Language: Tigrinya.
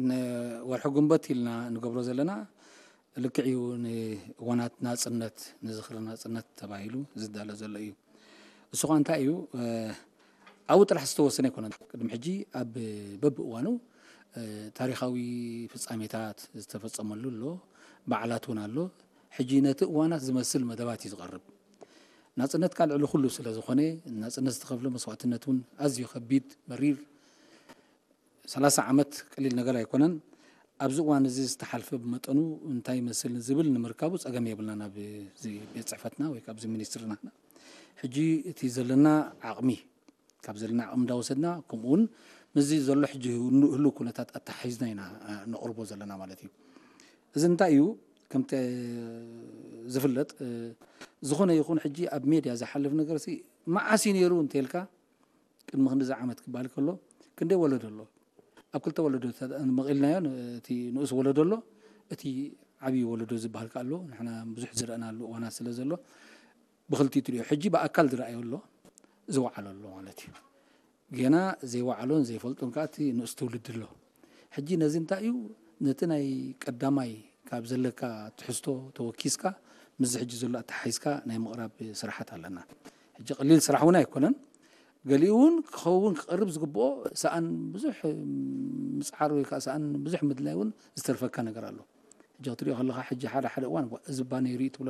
ንወርሒ ግንቦት ኢልና ንገብሮ ዘለና ልክዕ እዩ። ንእዋናት ናጽነት፣ ንዝኽሪ ናጽነት ተባሂሉ ዝዳሎ ዘሎ እዩ። እሱ ኸኣ እንታይ እዩ? ኣብኡ ጥራሕ ዝተወሰነ ኣይኮነን። ቅድሚ ሕጂ ኣብ በብእዋኑ ታሪኻዊ ፍጻሜታት ዝተፈጸመሉ ኣሎ፣ በዓላት እውን ኣሎ። ሕጂ ነቲ እዋናት ዝመስል መደባት እዩ ዝቐርብ። ናጽነት ካልዕ ልኹሉ ስለ ዝኾነ፣ ናጽነት ዝተኸፍለ መስዋዕትነት እውን ኣዝዩ ከቢድ፣ መሪር፣ ሰላሳ ዓመት ቀሊል ነገር ኣይኮነን። ኣብዚ እዋን እዚ ዝተሓልፈ ብመጠኑ እንታይ ይመስል ዝብል ንምርካቡ ጸገም የብልና ናብ እዚ ቤት ጽሕፈትና ወይ ካብዚ ሚኒስትርና። ሕጂ እቲ ዘለና ዓቕሚ፣ ካብ ዘለና ዓቕሚ እንዳወሰድና፣ ከምኡ እውን ምስዚ ዘሎ ሕጂ ህሉ-፣ ህሉው ኩነታት ኣተሓሒዝና ኢና፣ እ፣ ነቕርቦ ዘለና ማለት እዩ። እዚ እንታይ እዩ? ከምቲ ዝፍለጥ፣ እ፣ ዝኾነ ይኹን ሕጂ ኣብ ሜድያ ዝሓልፍ ነገር ሲ መዓስ እዩ ነይሩ እንተልካ፣ ቅድሚ ክንዲዚ ዓመት ክበሃል ከሎ ክንደይ ወለዶ ኣሎ? ኣብ ክልተ ወለዶ መቒልናዮ፣ እቲ ንኡስ ወለዶ ኣሎ፣ እቲ ዓብዪ ወለዶ ዝበሃል ከኣ ኣሎ። ንሕና ብዙሕ ዝረኣናሉ እዋናት ስለ ዘሎ ብኽልቲኡ ትሪኦ። ሕጂ ብኣካል ዝረኣዮ ኣሎ፣ ዝወዓሎ ኣሎ ማለት እዩ። ገና ዘይወዓሎን ዘይፈልጦን ከኣ እቲ ንኡስ ትውልዲ ኣሎ። ሕጂ ነዚ እንታይ እዩ? ነቲ ናይ ቀዳማይ ካብ ዘለካ ትሕዝቶ ተወኪስካ ምስዚ ሕጂ ዘሎ ኣተሓሒዝካ ናይ ምቕራብ ስራሓት ኣለና። ሕጂ ቀሊል ስራሕ እውን ኣይኮነን። ገሊኡ እውን ክኸውን ክቐርብ ዝግብኦ ሰኣን ብዙሕ ምጽዓር ወይ ከዓ ሰኣን ብዙሕ ምድላይ እውን ዝተርፈካ ነገር ኣሎ። ሕጂ ክትሪኦ ከለኻ ሕጂ ሓደ ሓደ እዋን "ዋ፣ እዚ እባ ነይሩ" እዩ ትብሎ።